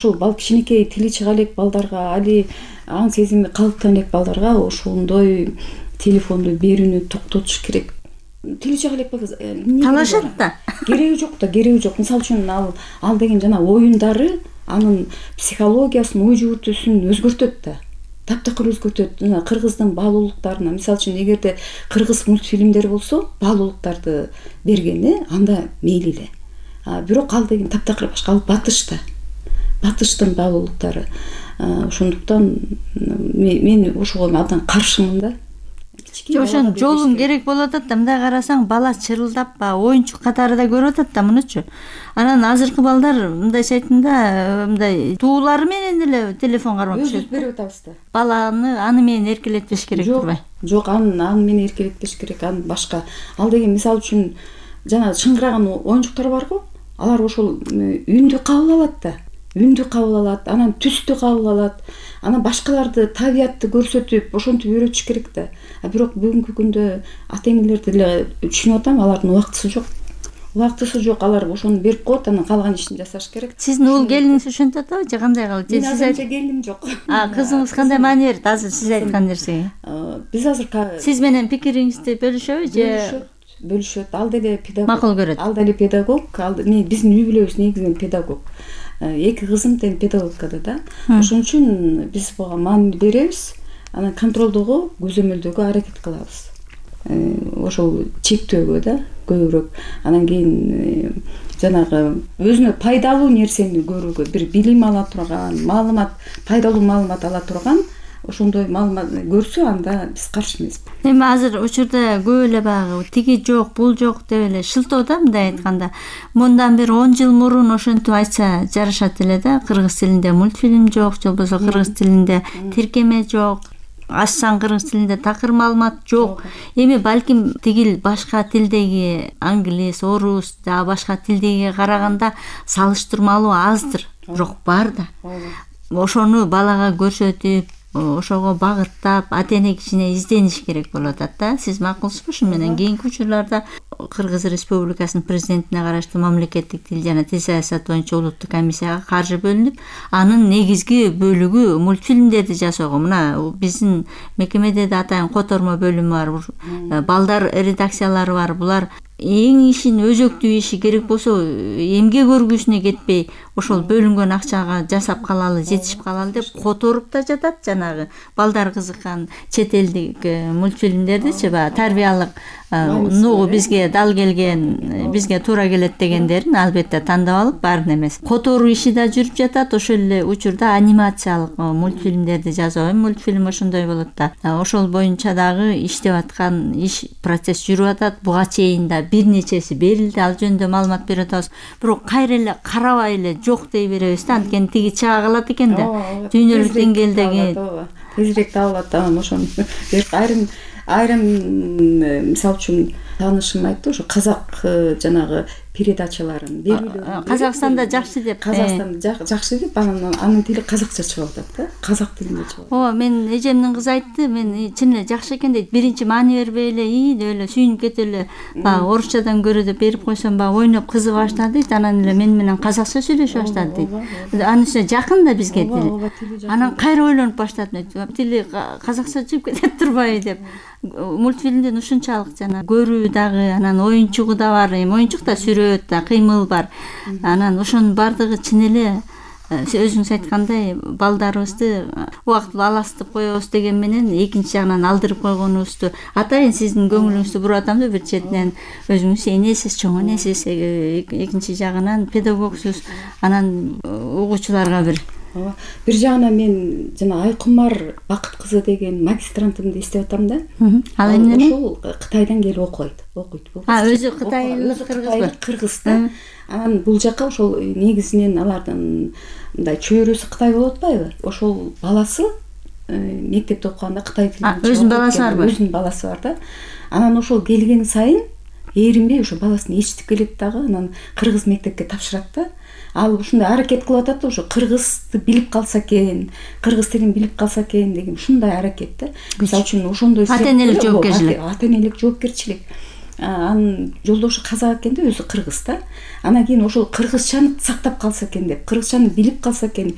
ушул кичинекей тили чыга элек балдарга, али аң сезими калыптана элек балдарга ошондой телефонду берүүнү токтотуш керек. Тили чыга элек талашат да. Кереги жок. Мисалы үчүн ал деген жана оюндары анын психологиясын, ой жүгүртүүсүн өзгөртөт да. Таптакыр өзгөртөт. Жана кыргыздын баалуулуктарына, мисалы үчүн эгерде кыргыз мультфильмдери болсо, баалуулуктарды бергени анда мейли эле. Бирок ал деген таптакыр башка, ал батыштын баалуулуктары. Ошондуктан мен ошого абдан каршымын да. Ошон жолун керек болуп атат да. Мындай карасаң бала чырылдап оюнчук катары да көрүп атат да мунучу. Анан азыркы балдар мындай сайтында мындай туулары менен эле телефон кармап жүрөт. Берип атабыз да. Баланы аны менен эркелетпеш керек турбайбы? Жок, аны менен эркелетпеш керек. Аны башка. Ал деген мисалы үчүн жана чыңгыраган оюнчуктар барго, алар ошол үндү кабыл алат да. Анан түстү кабыл алат. Анан башкаларды, табиятты көрсөтүп, ошентип үйрөтүш керек да. Бирок бүгүнкү күндө ата-энелерди эле түшүнүп атам, алардын убактысы жок. Алар ошону берип коет, анан калган ишин жасаш керек. Сиздин уул келиниңиз ошентип атабы же кандай кылып? Мен азырынча келиним жок. Кызыңыз кандай маани берет азыр сиз айткан нерсеге? Биз азыр сиз менен пикириңизди бөлүшөбү же? Бөлүшөт. Ал деле педагог. Макул көрөт. Ал деле педагог. Биздин үй бүлөбүз негизинен педагог. Эки кызым тең педагогикада да. Ошон үчүн биз буга маани беребиз. Анан контролдоого, көзөмөлдөөгө аракет кылабыз. Ошол чектөөгө да көбүрөөк. Анан кийин жанагы өзүнө пайдалуу нерсени көрүүгө, бир билим ала турган, пайдалуу маалымат ала турган ошондой маалымат көрсө, анда биз каршы эмеспиз. Эми азыр учурда көп эле баягы тиги жок, бул жок деп эле шылтоо да, мындай айтканда. Мындан бир 10 жыл мурун ошентип айтса жарашат эле да. Кыргыз тилинде мультфильм жок, же болбосо кыргыз тилинде тиркеме жок. Ачсаң кыргыз тилинде такыр маалымат жок. Эми балким тигил башка тилдеги англис, орус, жана башка тилдегиге караганда салыштырмалуу аздыр, бирок бар да. Ошону балага көрсөтүп, ошого багыттап, ата-эне кичине издениш керек болуп атат да. Сиз макулсузбу? Ушу менен кийинки учурларда Кыргыз Республикасынын президентине караштуу мамлекеттик тил жана тил саясаты боюнча улуттук комиссияга каржы бөлүнүп, анын негизги бөлүгү мультфильмдерди жасоого. Мына биздин мекемеде да атайын котормо бөлүмү бар, балдар редакциялары бар. Булар эң ишин өзөктүү иши керек болсо эмгек өргүүсүнө кетпей, ошол бөлүнгөн акчага жасап калалы, жетишип калалы деп которуп да жатат. Жанагы балдар кызыккан чет элдик мультфильмдердичи, тарбиялык нугу бизге дал келген, бизге туура келет дегендерин албетте тандап алып, баарын эмес. Которуу иши да жүрүп жатат. Ошол эле учурда анимациялык мультфильмдерди жасоо, мультфильм ошондой болот да. Ошол боюнча дагы иштеп аткан процесс жүрүп атат. Буга чейин да бир нечеси берилди, ал жөнүндө маалымат берип атабыз. Бирок кайра эле карабай эле жок дей беребиз да, анткени тиги чыга калат экен да. Дүйнөлүк деңгээлдеги тезирээк табылат да. Ошону айрым мисалы үчүн таанышым айтты, ошо казак жанагы передачаларын берүүлөрүн Казакстанда жакшы деп. Казакстанда жакшы деп, анын тили казакча чыгып атат да. Казак тилинде чыгып. Ооба, мен эжемдин кызы айтты, мен чын эле жакшы экен дейт. Биринчи маани бербей эле, деп эле сүйүнүп кетип эле, орусчадан көрө деп берип койсом, ойноп кызыга баштады дейт. Анан эле мен менен казакча сүйлөшө баштады дейт. Анын үстүнө жакын да бизге тили. Анан кайра ойлонуп баштадым, тили казакча чыгып кетет турбайбы деп. Мультфильмдин ушунчалык жана көрүү дагы, анан оюнчугу да бар, оюнчук да сүрөт да, кыймыл бар. Анан ошонун бардыгы чын эле өзүңүз айткандай балдарыбызды убактылуу аластытып коебуз деген менен экинчи жагынан алдырып койгонубузду атайын сиздин көңүлүңүздү буруп атам да. Бир четинен өзүңүз энесиз, чоң энесиз, экинчи жагынан педагогсуз, анан угуучуларга бир жагынан мен жана Айкумар Бакыт кызы деген магистрантымды эстеп атам да. Ал эмне? Ошол Кытайдан келип окуйт. Өзү кытайлык кыргыз да. Анан бул жака ошол негизинен алардын мындай чөйрөсү Кытай болуп атпайбы? Ошол баласы мектепте окуганда Кытай тилин өзүнүн баласы барбы? Өзүнүн баласы бар да. Анан ошол келген сайын эринбей ошо баласын ээрчитип келет дагы, анан кыргыз мектепке тапшырат да. Ал ушундай аракет кылып атат да, ошо кыргызды билип калса экен, кыргыз тилин билип калса экен деген ушундай аракет да. Мисалы үчүн ошондой ата-энелик жоопкерчилик. Ата-энелик жоопкерчилик. анын жолдошу казак экен да, өзү кыргыз да. Анан кийин ошол кыргызчаны сактап калса экен деп, кыргызчаны билип калса экен,